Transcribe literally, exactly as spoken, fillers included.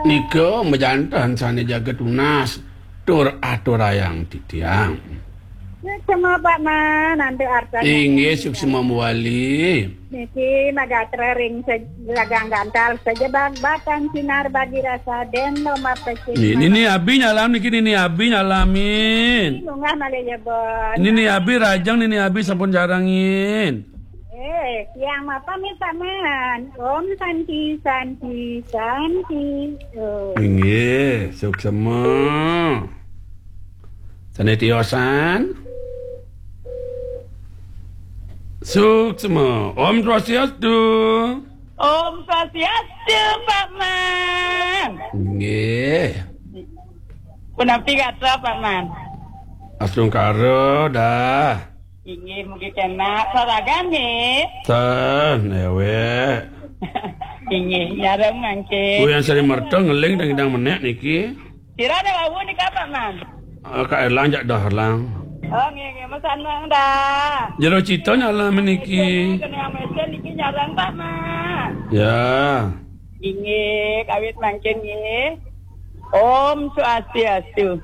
Nika majanten sane jaga tunas tur aturayang titiang. Suksma Pak Man, antuk arta. Inggih, suksma mawali. Niki magatra ring se-, gagang gantal sajebag batan sinar bagi rasa den lo mapecik. Ni-, Nini Abi nyalam niki, Nini Abi nyalamin. Munggah malih jebos. Nini Abi rajang, Nini Abi sampun jarangin. Eh, tiang mapamit Pak Man. Om Santi, Santi, Santi. Oh. Inggih, suksma. Sane tiosan. Suksma. Om Swastiastu. Om Swastiastu, Pak Man. Nggih. Punapi gatra, Pak Man? Astungkara dah. Inggih, mugi kenak saragan nggih. Ten, ewek. Inggih, nyareng mangkin. Ku yang sering merta ngeling dang idang menek niki. Sira ada wau nika, Pak Man? Ah, Kak Erlang jak dah Erlang. Oh, nggih, nggih, mesanang dah. Jero cita nyala meniki. Kena yang mesin niki nyareng, Pak Man. Ya. Inggih, kawit mangkin nggih. Om Swastiastu.